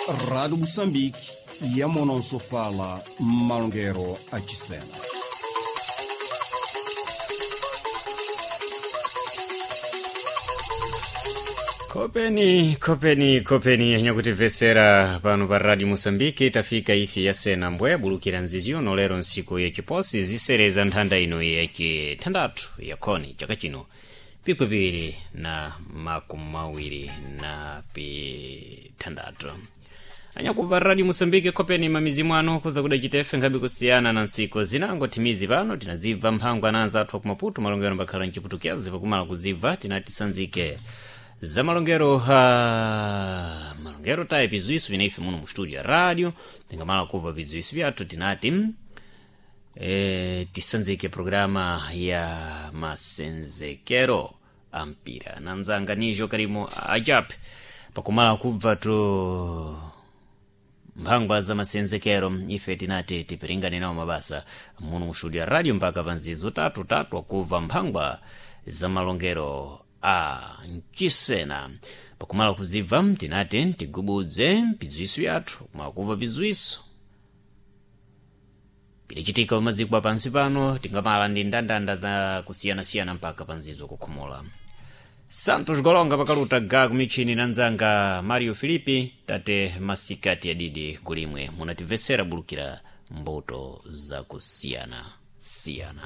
Rádio Moçambique, Yamonosofala, Malongero Achisena. Kopeni, kopeni, kopeni yanyakutimvesera pano pa Radio Moçambique. Tafika ifi yasena mbwe bulukira nziziono lero nsiku yachiposi zisereza nthanda ino yachithandathu yakhoni chaka chino pikwipiri na makumi mawiri na pithandathu. Anyakumva Radio Moçambique, kopeni mamizi mwanu kuza kudachitefe nkhabe kusiyana na nsiku zinango timizi pano tinazibva mphangwa na anzathu akumaputu malongero mbakhala mchiputukiazi pakumala kuzibva tinatisanzike za malongero ha malongero tayi pizwiso vinaife muno mu studio ya radio tingamala kubva pizwiso vyathu tinati tisanzike programa ya masenzekero a mpira na mzanga nijo karimo ajape pakumala kubva tu mphangwa za masenzekero ife tinati tipiringane nawo mabasa muno mu studio ya radio mpaka panzizo tatu tatu akubva mphangwa za malongero a mchisena. Pakumala kuzibva tinati tigubudze pizwiso yathu kumakumva pizwiso pilichitika pamaziko pansi pano tingamala ndi ndandanda za kusiyanasiyana mpaka panzizo kukhomola. Santos Golonga pakaluta ga kumichini na nzanga Mario Filipi tate masikati adidi kulimwe munatimvesera bulukira mbuto zakusiyana siyana.